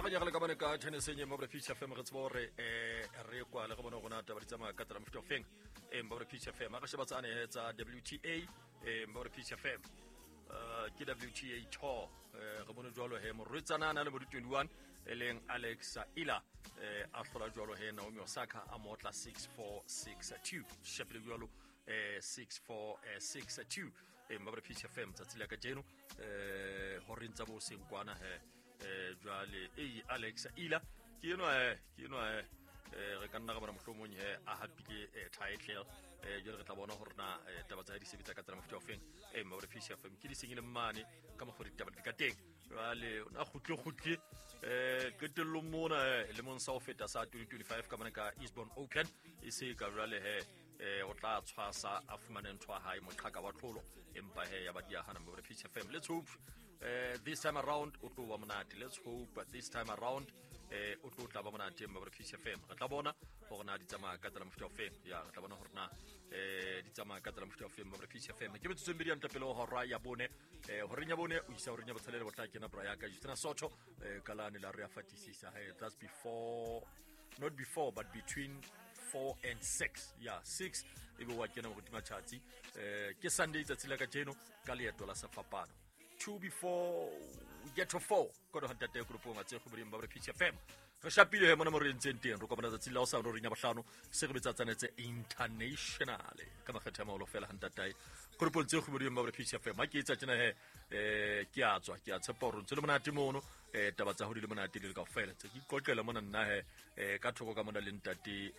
Ga re nyagale ka bone ka tenniseng e mo Peace FM, re tsebo gore re kwa le go bone gona taba di tsamaya ka tsela mofuta o feng e mo Peace FM. A re sheba tsane tsa WTA e mo Peace FM, ke WTA Tour. Re bone jwalo he morwetsana a na le bo di 21 e leng Alex Ila a hlola jwalo he Naomi Osaka, a motla 6-4 6-2, shapile jwalo 6-4 6-2 e mo Peace FM tsatsi la kajeno horeng tsa bo seng kwana he. Jwale ei Alex Ila ke enwa ke enwa re ka nna ra bona mohlomong he a hapile title. Jwale re tla bona hore na taba tsa hae di sebetsa ka tsela mofuta o feng e mo Peace FM. Ke di senyile mane ka mokgwa ditaba di ka teng. Jwale o na kgutle kgutle qetellong mona lemong sa ho feta sa 2025 ka mona ka Eastbourne Open e se ka jwale he o tla tshwasa a fumane ntho ya hae, moqhaka wa tlholo, empa he ya ba di hana mo Peace FM. Let's hope this time around o tlo ba monate. Let's hope this time around o tlo tla ba monate mo Peace FM. Re tla bona hore na di tsamaya ka tsela mofuta o feng. Ya, re tla bona hore na di tsamaya ka tsela mofuta o feng mo Peace FM. Ke metsotso e mmedi ya ntle pele ho hora ya bone. Horeng ya bone o isa horeng ya botshelela bo tla kena bra ya ka Justina Soto ka lane la re ya fatisisa. Hey, that's before, not before, but between 4 and 6. Ya 6 e be wa kena moruti Matjhatsi. Ke Sunday tsatsi la kajeno ka leeto la sefapano. 2 before we get to 4 kono ha ntate grupong a tse kgoboding ba Peace FM. Re shapile he mona mo re entseng teng, re kopana tsatsi la hosane horeng ya bohlano se re betsa tsanetse international ka makgetho a maholo fela ha ntatae grupong tse kgoboding ba Peace FM. Ha ke etsa tjena he ke a tswa, ke a tshepa hore ntse le monate mono. Taba tsa ho di le monate di le kaofela tse ke iqoqela mona nna he ka thoko ka mona le ntate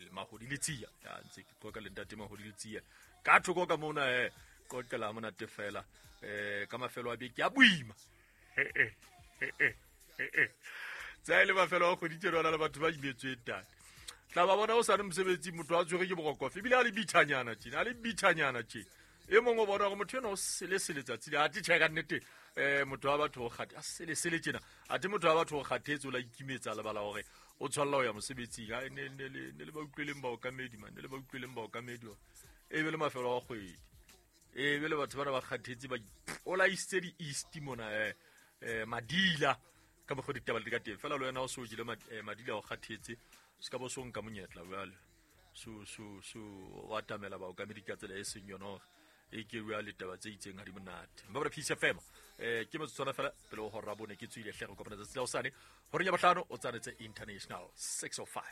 Mahodi le Tsia. Ya ntse ke qoqa le ntate Mahodi le Tsia ka thoko ka mona he, qoqela monate fela ka mafelo a beke a boima tsa e le mafelo a kgwedi tjena le batho ba imetsweng tane tla ba bona o sa le mosebetsing, motho a tshwere ke boroko ebile a le bithanyana tjena, a le bithanyana tjena. E mongwe o bona gore motho ena o selesele tsatsi le ate tjhe ka nnete motho wa batho o kgate a selesele tjena, ate motho wa batho o kgathetse, o la ikimetsa, lebala hore o tshwanela ho ya mosebetsing. A ne le ba utlweleng baokamedi man, ne le ba utlweleng baokamedi e be le mafelo a kgwedi e be le batho bana ba kgathetse ba ipolaisitse di-east mona madila ka mokgwa ditaba le di ka teng fela. Le wena o se o jele madila, o kgathetse, se ka bo so nka monyetla jwale so o atamela baokamedi ka tsela e seng yona hore e ke bua le taba tse itseng ha di monate. Mma Peace FM, ke motsotswana fela pele ho hora bone ke tswile hle. Re kopana tsatsi la hosane horeng ya bohlano o tsanetse international 605.